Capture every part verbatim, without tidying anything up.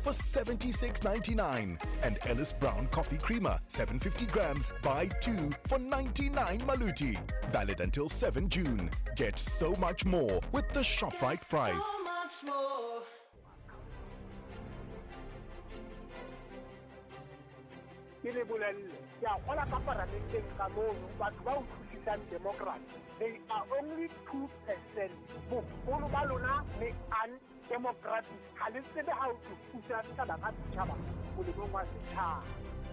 for seventy-six ninety-nine. And Ellis Brown Coffee Creamer, seven hundred fifty grams, buy two for ninety-nine Maluti. Valid until seventh June. Get so much more with the ShopRite price. So much more. Ke le bolelle, ke a kgola ka paramenteng ka mono, batho ba utlwisisang democracy, they are only two percent. Boholo ba lona le undemocratic. Ha le tsebe ha o tlo thusa setjhaba ka setjhaba molemong wa setjhaba.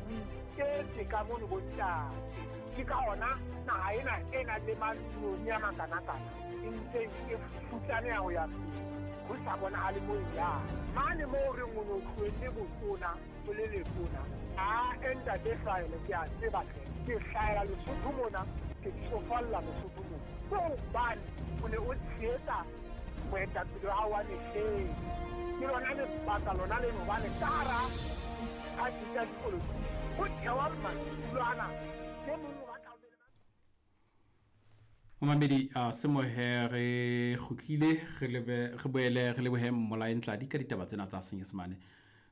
O iketse ka mono bontate. Ke ka hona naha ena e nang le mantsinyane a makanakana e ntseng e futsaneha ho ya pele. Ho sa bonahale moo e yang. Mane moo re reng o no tlohelle botona, o le letona. A ntate Hlahele, ke a tseba hle. Ke hlahela Lesotho mona, ke tsofalla Lesotho mona. Ke hobane o ne o tshehetsa moetapele wa hao wa mehleng. Ke lona lebaka lona leno hobane ka hara diphathi tsa dipolotiki ho thewa madulo ana. E mong o batla ho be le Momamedi a semohe re kgutlile re lebe re boele re lebohe Mmolae Ntladi ka ditaba tsena tsa Senyesemane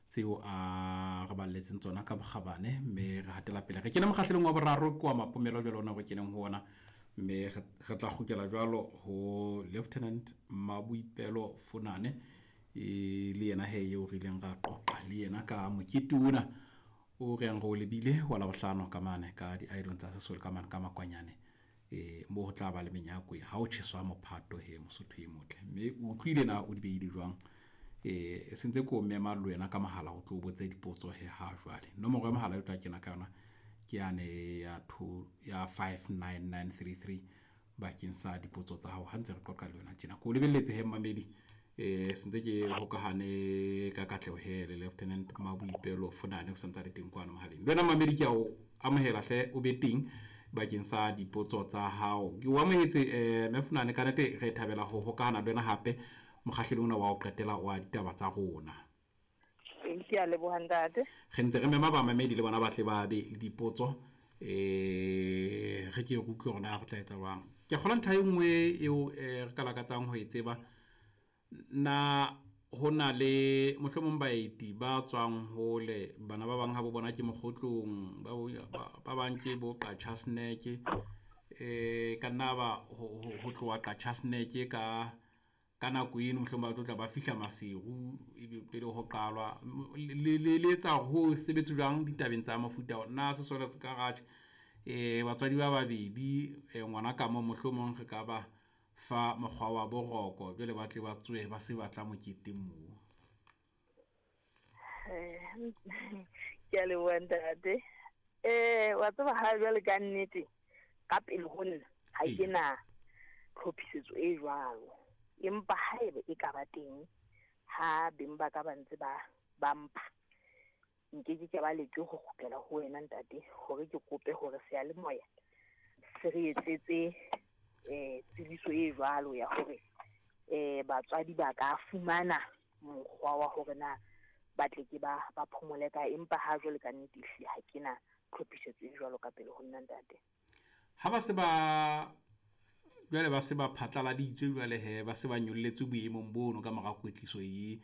tseo a re balletseng tsona ka bokgabane, mme re hatela pele re kene mokgahlelong wa boraro ke wa mapomelo jwalo ona re keneng ho ona, mme re tla kgutlela jwalo ho Lieutenant Maboipelo Funane e le yena he eo re ileng ra qoqa le yena ka mokete ona o re yang re o lebile wa Labohlano ka mane ka di-idol tsa Sesole ka mane ka Makwanyane. E mo ho tla ba le menyako ha o tjheswa mophato he Mosotho e motle, mme o utlwile na o di beile jwang? E sentse ko mema le wena ka mohala o tlo botse dipotso he ha jwale. Nomoro ya mohala e tla kena ka yona ke yane ya two ya five nine nine three three bakeng sa dipotso tsa hao ha ntse re qoqa le wena tjena. Ko lebelletse he mmamedi, e sentse ke hokahane ka katleho he le Lieutenant Maboipelo Funane o santse le teng kwano mohaleng. Le wena mmamedi ke a o amohela hle o be teng bakeng sa dipotso tsa hao. Ke o amohetse eh mme Funane, ka nnete re thabela ho hokahana le wena hape mokgahlelong ona wa ho qetela wa ditaba tsa rona. Ke a leboha ntate. Re ntse re mema bamamedi le bona ba tle ba be le dipotso, eh re ke re utlwe hore na re tla etsa jwang. Ke kgola ntlha e nngwe eo re ka lakatsang ho e tseba, na ho na le mohlomong baeti ba tswang hole, bana ba bang ha bo bona ke mokgotlong, ba ba bang ke bo Qachaseneke, eh ka nna ba ho tloha Qachaseneke ka ka nako eno mohlomong ba tlo tla ba fihla Maseru ebe pele ho qalwa. Le le etsa ho sebetse jwang ditabeng tsa mofuta ona? Na sesole se ka ratjha eh batswadi ba babedi ngwana ka mo mohlomong re ka ba fa mokgwa wa boroko jwale ba tle ba tswe ba se batla moketeng moo? Ke a leboha ntate. Eh wa tseba ha jwale ka nnete ka pele ho nna ha ke na tlhophisetso e jwalo, empa haebe e ka ba teng ha beng ba ka ba ntse ba ba mpha, nke ke ke ba leke ho kgutlela ho wena ntate hore ke kope hore seyalemoya se re etsetse eh tsebiso e jwalo ya hore eh batswadi ba ka fumana mokgwa wa hore na ba tle ke ba ba phomole ka, empa ha jwale ka nnete ehlile ha ke na tlhophisetso e jwalo ka pele ho nna ntate. Ha ba se ba jwale ba se ba phatlaladitswe jwale he ba se ba nyolletswe boemong bono ka mora kwetliso e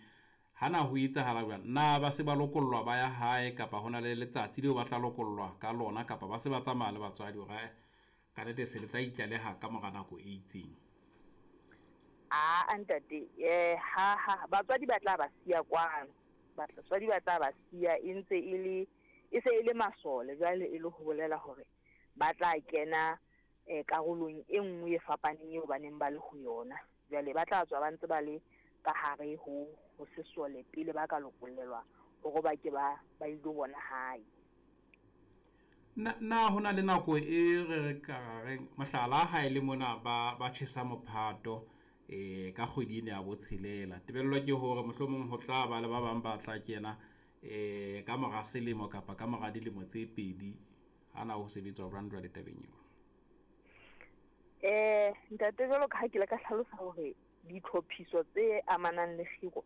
hana ho etsahala jwang? Na ba se ba lokollwa ba ya hae kapa hona le letsatsi leo ba tla lokollwa ka lona, kapa ba se ba tsamaya le batswadi hore ka nnete se le tla itlaleha ka mora nako e itseng? A ntate, eh ha ha batswadi ba tla ba siya kwano, batswadi ba tla ba siya e ntse e le e se e le masole jwale, e le ho bolela hore ba tla kena eh karolong e nngwe e fapaneng eo ba neng ba le ho yona. Jwale ba tla tswa ba ntse ba le ka hare ho ho sesole pele ba ka lokollelwa hore ba ke ba ba ilo bona hae. Na na hona le nako e re ka reng mohlala ha ile mona ba ba tjhesa mophato eh ka kgwedi ena ya botshelela, tebello ke hore mohlomong ho tla ba le ba bang ba tla kena eh ka mora selemo kapa ka mora dilemo tse pedi. Hana ho sebetswa jwang jwale tabeng eo? Eh ntate, jwalo ka ha ke le ka hlalosa hore ditlhophiso tse amanang le kgiro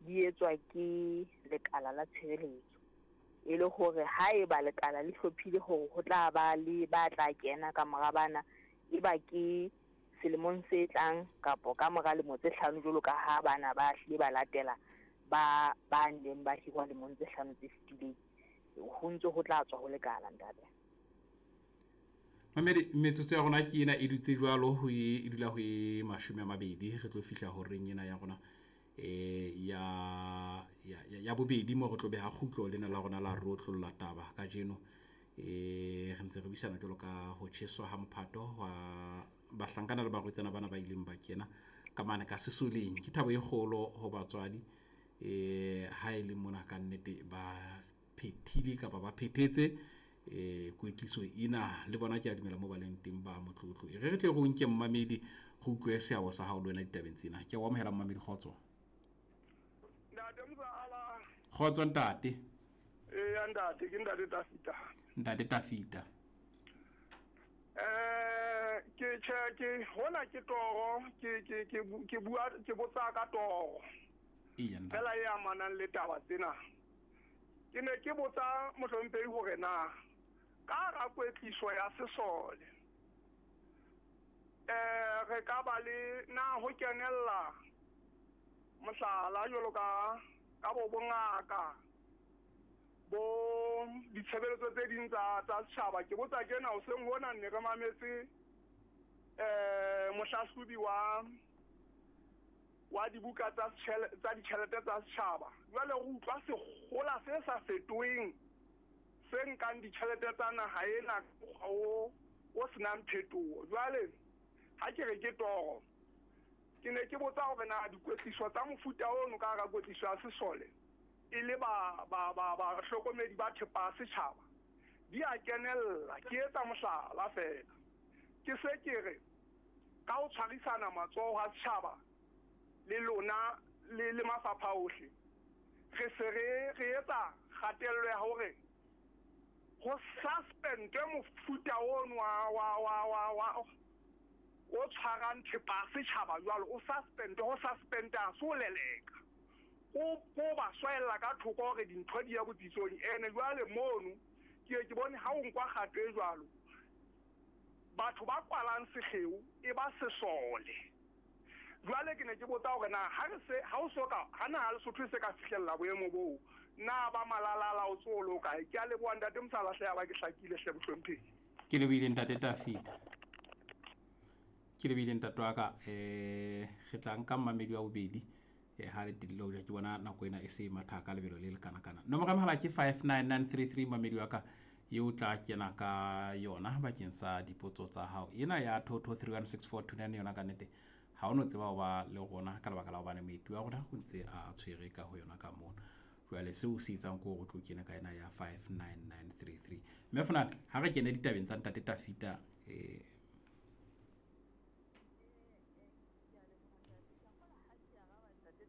di etswa ke lekala la tshireletso, e le hore haeba lekala le hlophile hore ho tla ba le ba tla kena ka mora bana, e ba ke selemong se tlang kapo ka mora lemo tse hlano jwalo ka ha bana ba hlile ba latela ba ba neng ba hirwa lemong tse hlano tse fetileng ho ntse ho tla tswa ho lekala ntate. Mamedi, metsotso ya rona ke ena e dutse jwalo ho e dula ho e mashome a mabedi re tlo fihla horeng ena ya rona eh ya ya ya bobedi mo re tlo beha kgutlo lena la rona la rotlolla taba kajeno. Eh re ntse re buisana jwalo ka ho tjheswa ha mophato wa bahlankana le barwetsana bana ba ileng ba kena ka mane ka sesoleng. Ke thabo e kgolo ho batswadi eh ha e le mona ka nnete ba phethile kapa ba phethetse eh kwetliso ena le bona ke a dumela mo ba leng teng ba motlotlo. E re re tle re o nke mmamedi re utlwe seabo sa hao le wena ditabeng tsena. Ke o amohela mmamedi, kgotso. Ntate Mzala. Kgotso ntate. Eh ntate ke ntate Tafita. Ntate Tafita. Eh ke che ke hona ke toro ke ke ke ke bua ke botsa ka toro. Iya ntate. Fela e amanang le taba tsena. Ke ne ke botsa mohlomphehi hore na ka ra kwetliso ya sesole eh re ka ba le na ho kenella mohlala jwalo ka ka bo bongaka bo ditshebeletso tse ding tsa tsa setjhaba. Ke botsa kena hoseng hona ne re mametse eh mohlahlobi wa wa dibuka tsa tsa ditjhelete tsa setjhaba. Jwale re utlwa sekgola se sa fetoheng se nkang ditjhelete tsa naha ena o o senang phetoho. Jwale ha ke re ke toro, ke ne ke botsa hore na dikwetliso tsa mofuta ono ka hara kwetliso ya sesole e le ba ba ba ba hlokomedi ba thepa setjhaba di a kenella. Ke etsa mohlala fela, ke se ke re ka ho tshwarisana matsoho ha setjhaba le lona le le mafapha ohle re se re re etsa kgatello ya hore ho suspendwe mofuta ono wa wa wa wa wa o tshwarang thepa setjhaba jwalo o suspendwe. Ho suspenda so leleka o o ba swella ka thoko hore dintho di ya botsitsong. Ene jwale mono ke ke bone ha o nkwa kgato e jwalo batho ba kwalang sekgeo e ba sesole. Jwale ke ne ke botsa hore na ha re se ha o soka ha na ha Lesotho se ka fihlella boemo boo na ba malalala o tsolo kae. Ke a leboha ntate Mosala hle ya ba ke hlakile hle bohlomphehi. Ke lebohile ntate Tafita. Ke lebohile ntate wa ka. Eh re tla nka mmamedi wa bobedi eh ha le tilile ho ja ke bona nako ena e se matha ka lebelo le le kana kana. Nomoro ya mohala ke five nine nine three three mmamedi wa ka eo tla kena ka yona bakeng sa dipotso tsa hao. Ena ya two two three one six four two nine yona ka nnete ha o no tseba ho ba le rona ka lebaka la hobane moeti wa rona o ntse a tshwere ka ho yona ka mona. Jwale seo se etsang ke hore o tlo kena ka ena ya five nine nine three three. Mme Funana ha re kene ditabeng tsa ntate Tafita eh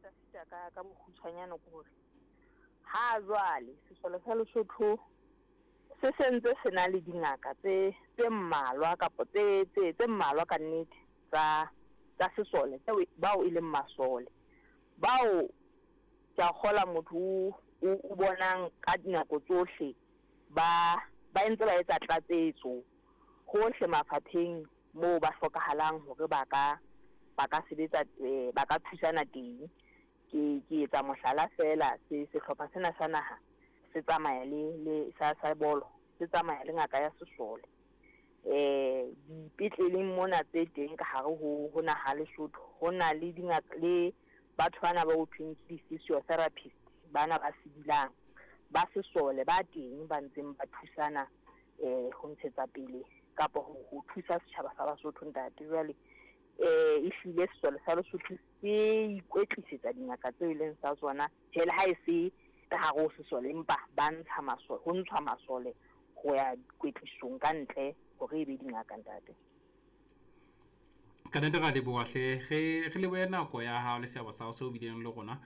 Tafita ka ka bokgutshwanyane ke hore ha jwale sesole sa Lesotho se sentse se na le dingaka tse tse mmalwa kapa tse tse tse mmalwa ka nnete tsa tsa sesole tseo bao e leng masole bao ke a kgola motho o o bonang ka dinako tsohle ba ba ntse ba etsa tlatsetso hohle mafapheng moo ba hlokahalang hore ba ka ba ka sebetsa ba ka thusana teng. Ke ke etsa mohlala fela se sehlopha sena sa naha se tsamaya le le sa sa bolo se tsamaya le ngaka ya sesole. Eh dipetleleng mona tse teng ka hare ho ho naha Lesotho ho na le dingaka le batho bana ba ho thweng ke di-physiotherapist bana ba sebilang ba sesole ba teng ba ntseng ba thusana eh ho ntshetsa pele kapa ho ho thusa setjhaba sa Basotho ntate. Jwale eh e hlile sesole sa Lesotho se ikwetlisetsa dingaka tseo e leng sa tsona tjhe le ha e se ka hare ho sesole empa ba ntsha masole ho ntshwa masole ho ya kwetlisong ka ntle hore e be dingaka ntate. Ka nnete ra leboha hle re re lebohe nako ya hao le seabo sa hao seo bileng le rona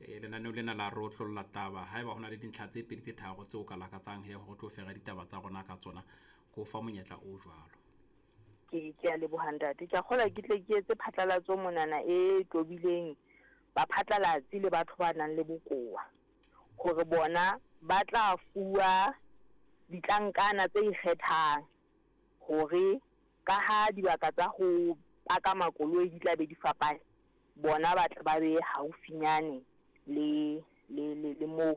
eh lenaneo lena la rotlolla taba. Haeba hona le dintlha tse pedi tse tharo tseo ka lakatsang he hore tlo fera ditaba tsa rona ka tsona ko fa monyetla o jwalo. Ke ke a leboha ntate. Ke a kgola ke tle ke etse phatlalatso monana e tobileng ba phatlalatsi le batho ba nang le bokowa hore bona ba tla fuwa ditlankana tse ikgethang hore ka ha dibaka tsa ho paka makoloi di tla be di fapane, bona ba tla ba be haufinyane Le le le le moo ho